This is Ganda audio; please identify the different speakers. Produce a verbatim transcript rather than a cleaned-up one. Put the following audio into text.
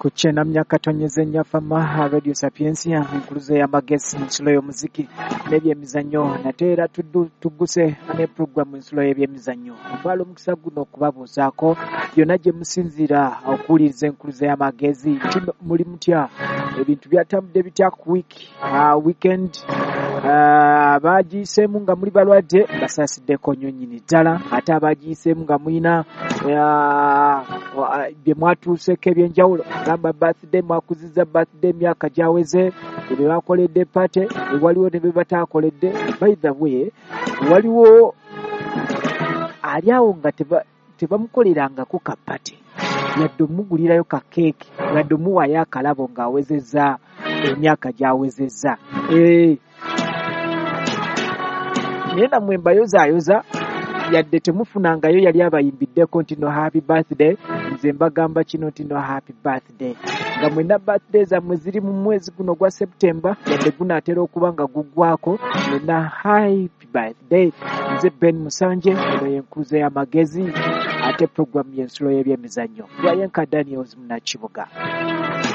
Speaker 1: Ku kyenda katonyeze Nyafama Radio Sapientia, enkuluze y'amagezi, ensulo y'omuziki n'ebyemizannyo. Nate era tugguse ne puroguramu ensulo y'ebyemizannyo. Ntwala omukisa guno okubabuuzaako yonna gye musinziira okuwuliriza enkuluze y'amagezi nti muli mutya, ebintu byatambudde bitya ku wiiki, weekend abagiyiseemu nga muli balwadde basaasiddeko nnyo nnyini ddala, ate abagiyiseemu nga mulina bye mwatuuseeko ebyenjawulo, gamba birthday mwakuzizza birthday emyaka gyaweze, bye bakoledde party, waliwo ne bye bataakoledde. By the way, waliwo ali awo nga tebamukolerangako ka party, yadde omugulirayo ka keeki, yadde omuwaayo akalabo ng'awezezza emyaka gy'awezezza. Naye nammwe mbayozaayoza, yadde temufunangayo yali abayimbiddeko nti no happy birthday, nze mbagamba kino nti no happy birthday. Nga mwenna birthday zammwe ziri mu mwezi guno gwa September, yadde gunaatera okuba nga guggwako, mwenna happy birthday. Nze Ben Musanje, eno y'enkuluze y'amagezi, ate puroguramu y'ensulo y'ebyemizannyo. Lwayenka Daniels Munakibuga.